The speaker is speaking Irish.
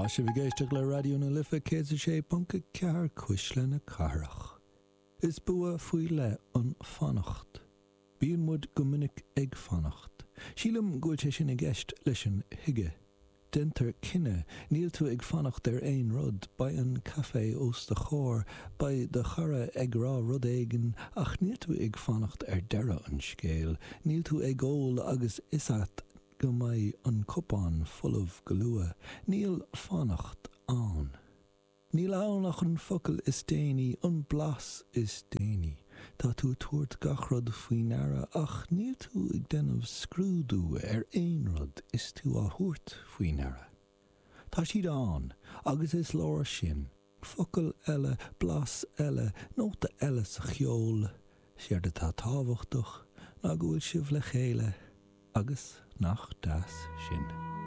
Tá sibh ag éisteacht le Raidió na Life 106.4 Cuisle na Cathrach. Is bua faoi leith an fanacht. Bíonn muid go minic ag fanacht. Sílim go bhfuil sé sin i gceist leis an hygge. Déantar cinneadh, níl tú ag fanacht ar aon rud, beidh an caife os do chomhair, beidh do chara ag rá rud éigin ach níl tú ag fanacht ar deireadh an scéil, níl tú ag ól agus fhios a't go mbeidh an cupán folamh go luath. Níl fanacht ann. Níl ann ach an focal is déanaí, an blas is déanaí. Tá tú ag tabhairt gach rud faoi ndeara ach níl tú ag déanamh scrúdú ar aon rud is tú á thabhairt faoi ndeara. Tá siad ann agus is leor sin. Focal eile, blas eile, nóta eile sa cheol, séard atá tábhachtach ná go bhfuil sibh le chéile agus nach deas sin.